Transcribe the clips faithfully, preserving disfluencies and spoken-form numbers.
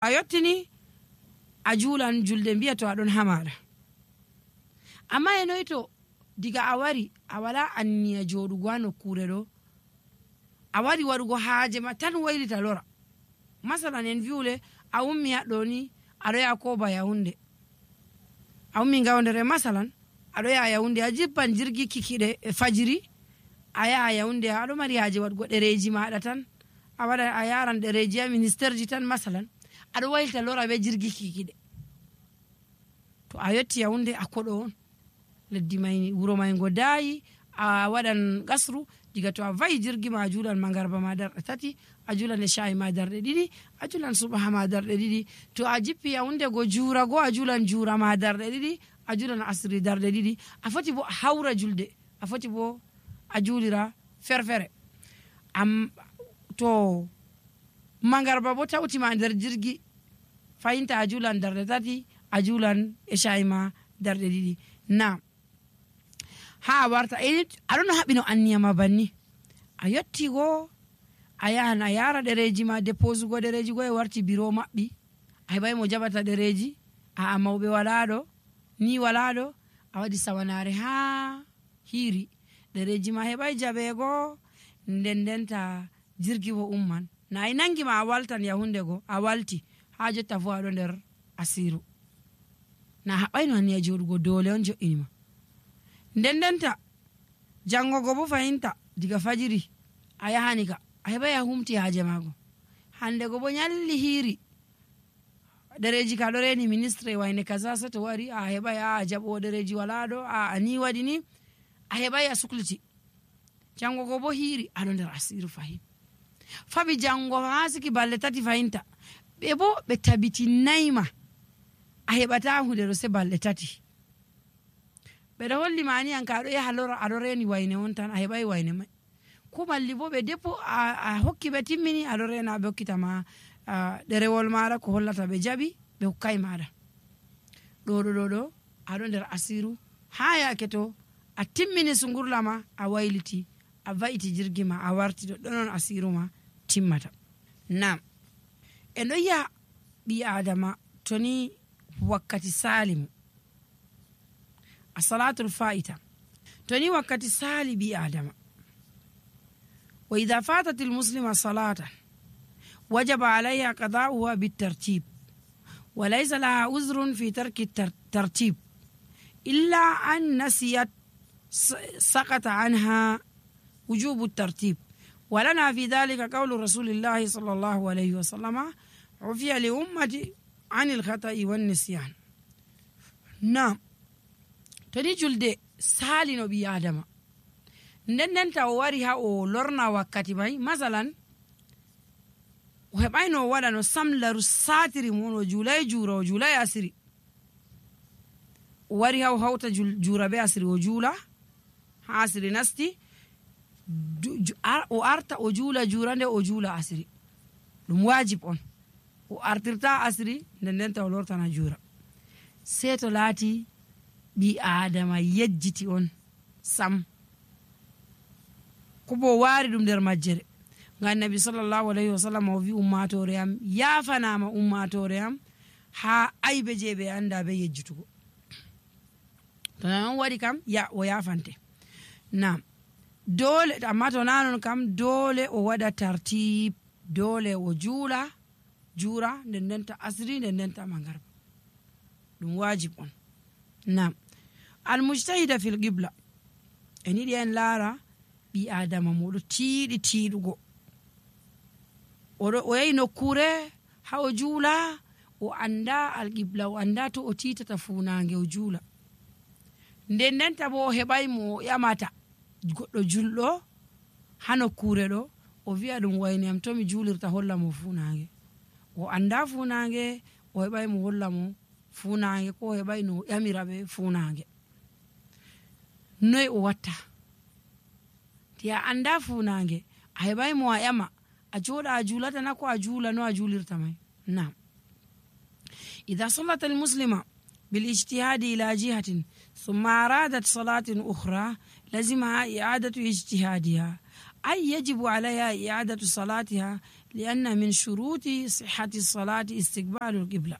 a yottini a juulan julde mbiya to aɗon hamaɗa. Amma e noy to diga a wari a wala anniya joɗugo ha nokkure ɗo, a wari waɗugo haaje ma tan waylita lora. Masalan en viwle a ummi haɗɗo ni aɗo yaha koba Yahunde, a ummi Gawdere masalan aɗo yaha Yahunde, a jippan jirgi kikiɗe e fajiri a yaha Yahunde, aɗo mari haaje waɗugo ɗereji maɗa tan, a waɗa a yaran ɗereji ha ministére ji tan masalan, aɗo waylita lora be jirgi kikiɗe. To a yotti Yahunde a koɗo on, leddi may wuro may ngo daayi, a waɗan gasru. Diga to a vayi jirgi ma a juulan mangarba ma darɗe tati, a juulan e shayi ma darɗe ɗiɗi, a juulan subaha ma darɗe ɗiɗi. To a jippi Yahunde go juura go a juulan juura ma darɗe ɗiɗi, a juulan asri darɗe ɗiɗi. A foti bo a hawra julde, a foti bo a juulira ferfere. Am to mangarba bo tawtima nder jirgi, fayinta a juulan darɗe tati, a juulan e shayi ma darɗe ɗiɗi. Na ha a warta aɗon haɓino anniya ma banni, a yotti go a yahan a yara ɗereji ma, déposugo ɗereji go e warti biro maɓɓi, a heɓai mo jaɓata ɗereji, a mawɓe walaɗo ni walaɗo, a waɗi sawanare ha hiri, ɗereji ma heɓai jaɓego, nden ndenta jirgi bo umman. Na i nangi ma a waltan Yahunde go a walti, ha jotta fu aɗo nder asiru. Na haɓaino anniya joɗugo, dole on jo'inima. Nden ndenta jangogo bo fayinta diga fajiri a yahani ka a heɓai a humti haaje mago, hande go bo nyalli hiri ɗereji ka ɗo reni ministre wayne kaza, se to wari a heɓai a jaɓo ɗereji walaɗo, a ni waɗi ni, a heɓai a sukliti. Jangogo bo hiri aɗo nder asiru fahin. Faɓi jango ha siki balɗe tati fayinta, ɓe bo ɓe tabitinnayma a heɓata hunde ɗo se balɗe tati. Ɓeɗo holli mani an ka aɗo yaha lora aɗo reni wayne on tan, a heɓai wayne mai. Ko malli bo ɓe depo a, a hokki ɓe timmini aɗo rena ɓe hokkitama ɗerewol maɗa ko hollata ɓe jaɓi ɓe hokkai maɗa. Ɗo ɗo ɗo ɗo aɗo nder asiru ha yake to a timmini sungurla ma a wayliti, a va'iti jirgi ma a warti, ɗo ɗonon asiru ma timmata. Nam en ɗo yi'a ɓi adama toni wakkati salimu, asalatul fa'ita, toni wakkati sali ɓi adama. Wa idha fatat almuslima salatan wajaba alayha qada'uha bitartib wa laysa laha uzrun fi tarki tartib illa an nasiyat saqata anha wujubu tartib. ولنا في ذلك قول رسول الله صلى الله عليه وسلم عفي لأمتي عن الخطأ والنسيان. نعم toni julde salino ɓi adama, nden ndenta o wari ha o lorna wakkati mai, masalan o heɓai no waɗa no samlaru satiri mon, o julai jura o julai asiri, o wari ha o hauta jura be asiri o jula, ha asiri nasti o arta o jula jura nde o jula asiri, ɗum wajib on. O artirta asiri nden ndenta o lortana jura, sei to laati ɓi adama yejjiti on sam, ko bo wari ɗum nder majjere. Ngam Nabi sallallahu alayhi wa sallam o wi ummatore am yafanama, ummatore am ha aybe je ɓe anda be yejjitugo. To non waɗi kam ya o yafante. Nam dole, amma to nanon kam dole o waɗa tartib, dole o juula jura nden ndenta asri nden ndenta mangarba, ɗum wajib on. Nam almujtahida fil qibla, en yiɗi en laara ɓi adama moɗo tiiɗi tiiɗugo, o yahi nokkure ha o juula, o anda alqibla, o anda to o titata funange o juula. Nden ndenta bo o heɓai mo ƴamata goɗɗo julɗo ha nokkure ɗo, o wi'a ɗum wayne am to mi julirta holla mo funange, o anda funange, o heɓai mo holla mo funange, ko o heɓai no ƴamira ɓe funange. Noy o watta? Ti a anda funange, a heɓai mo a ƴama, a joɗa a julata na ko a jula no a julirta mai? Nam idha sallat almuslima بالاجتهاد إلى جهة ثم أرادت صلاة أخرى لزمها إعادة اجتهادها أي يجب عليها إعادة صلاتها لأن من شروط صحة الصلاة استقبال القبلة.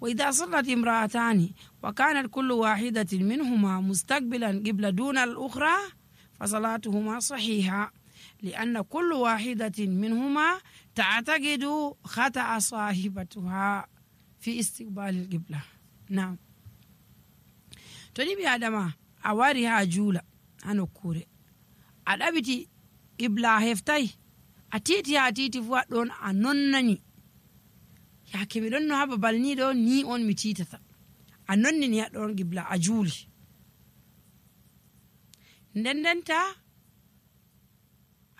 وإذا صلت امرأتان وكانت كل واحدة منهما مستقبلا قبلة دون الأخرى فصلاتهما صحيحة، لأن كل واحدة منهما تعتقد خطأ صاحبتها في استقبال القبلة. نعم. تنبي آدم أواريها جولة أنا كوري أدابتي قبلة هفتاي أتيتي أتيتي فوات أنونني ya kemi ɗon no ha babal ni ɗo ni on mi titata a nonni ni haɗon gibla a juuli nden ndenta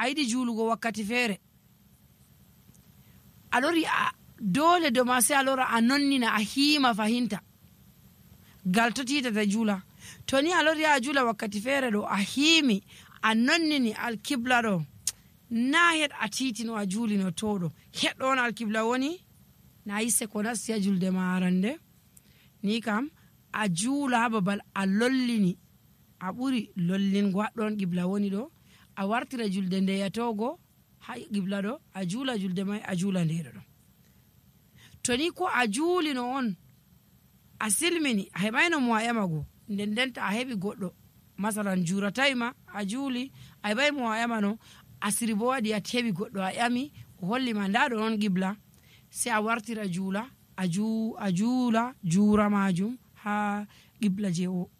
a yiɗi juulugo wakkati feere a lori a dole do ma sai a lora a nonnina a hiima fahinta gal to titata juula to ni a lori a juula wakkati feere ɗo a hiimi a nonnini alkibla ɗo na heɗ a titino a juulino to ɗo heɗɗon alkibla woni na yisse ko nasti a julde ma arande ni kam a juula ha babal a lollini a ɓuri lollingo haɗɗon qibla woni ɗo a wartira julde nde yatogo ha qibla ɗo a juula julde mai a juula ndeɗo ɗo. To ni ko a juulino on a silmini a heɓayno mo a yamago nden ndenta a heɓi goɗɗo masalan juuratayma a juuli a heɓay mo a yamano asiri bo waɗi a heɓi goɗɗo a yami o hollima ndaɗo on qibla sai a wartira juula a juula juura majum ha qibla je o